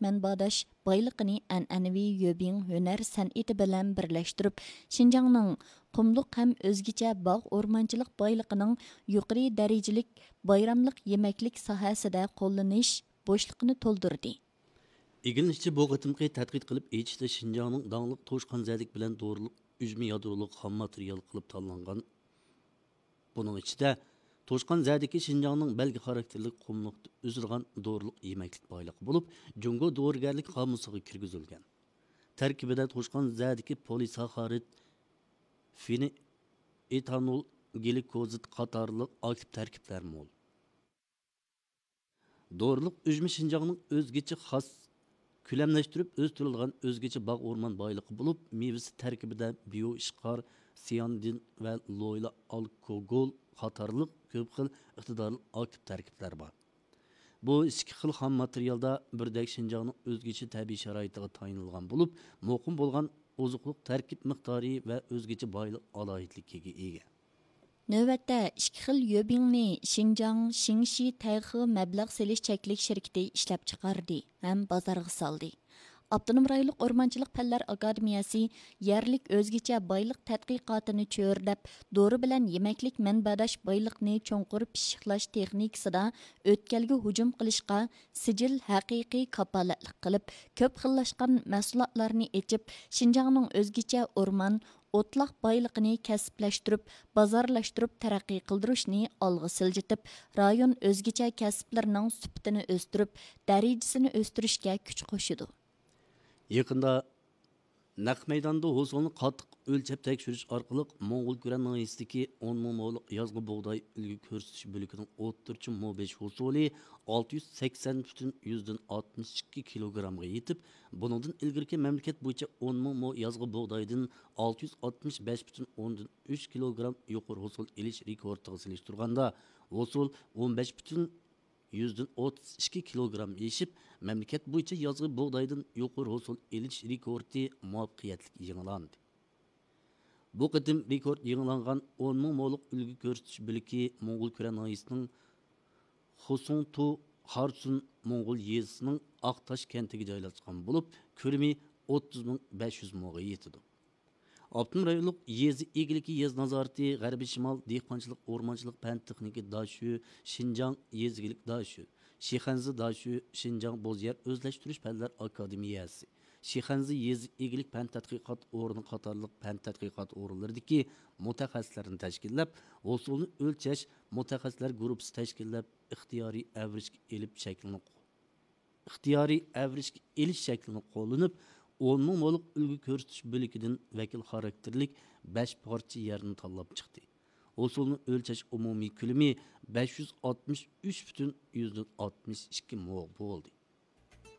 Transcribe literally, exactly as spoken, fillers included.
مەنبەداش بايلىقىنى ئەنئەنىۋى يۆبىڭ ھۈنەر سەنئىتى بىلەن بىرلەشتۈرۈپ، شىنجاڭنىڭ قۇملۇق ھەم ئۆزگىچە باغ ئورمانچىلىق بايلىقىنىڭ يۇقىرى دەرىجىلىك بايراملىق يېمەكلىك ساھەسىدە قوللىنىش بوشلۇقىنى تولدۇردى. ئىگىلىنىشىچە، بۇ قېتىمقى تەتقىق قىلىپ ئېچىشتا شىنجاڭنىڭ داڭلىق توشقان زەدىكى بىلەن دورىلىق ئۈجمە يادرولۇق خام ماتېرىيال قىلىپ تاللانغان. بۇنىڭ ئىچىدە توشقان زەدىكى شىنجاڭنىڭ بەلگە خاراكتېرلىك قۇملۇقتا ئۆسىدىغان دورىلىق يېمەكلىك بايلىقى بولۇپ، جۇڭگو دورىگەرلىك قامۇسىغا كىرگۈزۈلگەن. تەركىبىدە توشقان زەدىكى پولىساخارىد، فېنئېتانول، گلىكوزىد قاتارلىق ئاكتىپ تەركىبلەر مول. دورىلىق ئۈجمە شىنجاڭنىڭ ئۆزگىچە خاس، كۆلەملەشتۈرۈپ ئۆستۈرۈلىدىغان ئۆزگىچە باغ ئورمان بايلىقى بولۇپ، مېۋىسى تەركىبىدە بىيو ئىشقار، سىيانىدىن ۋە لويلا ئالكوگول قاتارلىق كۆپ خىل ئىقتىدارلىق ئاكتىپ تەركىبلەر بار. بۇ ئىككى خىل خام ماتېرىيالدا بىردەك شىنجاڭنىڭ ئۆزگىچە تەبىئىي شارائىتىغا تايىنىلغان بولۇپ، مۇقىم بولغان ئوزۇقلۇق تەركىب مىقدارى ۋە ئۆزگىچە بايلىق ئالاھىدىلىكىگە ئىگە. نۆۋەتتە ئىككى خىل يۆبىڭنى شىنجاڭ شىڭشى تەيخې مەبلەغ سېلىش چەكلىك شىركىتى ئىشلەپچىقاردى ھەم بازارغا سالدى. ئاپتونوم رايونلۇق ئورمانچىلىق پەنلەر ئاكادېمىيەسى يەرلىك ئۆزگىچە بايلىق تەتقىقاتىنى چۆرىدەپ، دورا بىلەن يېمەكلىك مەنبەداش بايلىقنى چوڭقۇر پىششىقلاش تېخنىكىسىدا ئۆتكەلگە ھۇجۇم قىلىشقا سىجىل ھەقىقىي كاپالەتلىك قىلىپ، كۆپ خىللاشقان مەھسۇلاتلارنى ئېچىپ، شىنجاڭنىڭ ئۆزگىچە ئورمان، ئوتلاق بايلىقىنى كەسىپلەشتۈرۈپ، بازارلاشتۇرۇپ تەرەققىي قىلدۇرۇشنى ئالغا سىلجىتىپ، رايون ئۆزگىچە كەسىپلىرىنىڭ سۈپىتىنى ئۆستۈرۈپ، دەرىجىسىنى ئۆستۈرۈشكە كۈچ قوشىدۇ. يېقىندا نەق مەيداندا ھوسۇلنى قاتتىق ئۆلچەپ تەكشۈرۈش ئارقىلىق، موڭغۇل كۈرەن ناھىيەسىدىكى ئون مىڭ مولۇق يازغى بۇغداي ئۈلگە كۆرسىتىش بۆلىكىنىڭ ئوتتۇرىچە مو بېشى ھوسۇلى ئالتە يۈز سەكسەن پۈتۈن يۈزدىن ئاتمىش ئىككى كىلوگرامغا يېتىپ، بۇنىڭدىن ئىلگىرىكى مەملىكەت بويىچە ئون مىڭ مو يازغى بۇغدايدىن ئالتە يۈز ئاتمىش بەش پۈتۈن ئوندىن ئۈچ كىلوگرام يۇقىرى ھوسۇل ئېلىش رېكورتىغا سېلىشتۇرغاندا، ھوسۇل ئون بەش پۈتۈن يۈزدىن ئوتتۇز ئىككى كىلوگرام ئېشىپ، مەملىكەت بويىچە يازغى بۇغدايدىن يۇقىرى ھوسۇل ئېلىش رېكورتى مۇۋەپپەقىيەتلىك يېڭىلاندى. بۇ قېتىم رېكورت يېڭىلانغان ئون مىڭ مولۇق ئۈلگە كۆرسىتىش بۆلىكى موڭغۇل كۈرەن ناھىيەسىنىڭ خۇسۇڭتۇ خارسۇن موڭغۇل يېزىسىنىڭ ئاقتاش كەنتىگە جايلاشقان بولۇپ، كۆلىمى ئوتتۇز مىڭ بەش يۈز موغا يېتىدۇ. ئاپتونوم رايونلۇق يېزا ئىگىلىكى يېزا نازارىتى غەربىي شىمال دېھقانچىلىق ئورمانچىلىق پەن تېخنىكا داشۆ، شىنجاڭ يېزا ئىگىلىك داشۆ، شىخەنزە داشۆ، شىنجاڭ بوز يەر ئۆزلەشتۈرۈش پەنلەر ئاكادېمىيەسى، شىخەنزە يېزا ئىگىلىك پەن تەتقىقات ئورنى قاتارلىق پەن تەتقىقات ئورۇنلىرىدىكى مۇتەخەسسىسلەرنى تەشكىللەپ، ھوسۇلنى ئۆلچەش مۇتەخەسسىسلەر گۇرۇپپىسى تەشكىللەپ، ئىختىيارىي ئەۋرىشكە ئېلىپ شەكلىنى ئىختىيارىي ئەۋرىشكە ئېلىش شەكلىنى قوللىنىپ، ئون مىڭ مولۇق ئۈلگە كۆرسىتىش بۆلىكىدىن ۋەكىل خاراكتېرلىك بەش پارچە يەرنى تاللاپ چىقتى. ھوسۇلنى ئۆلچەش ئومۇمىي كۆلىمى بەش يۈز ئاتمىش ئۈچ پۈتۈن يۈزدىن ئاتمىش ئىككى مو بولدى.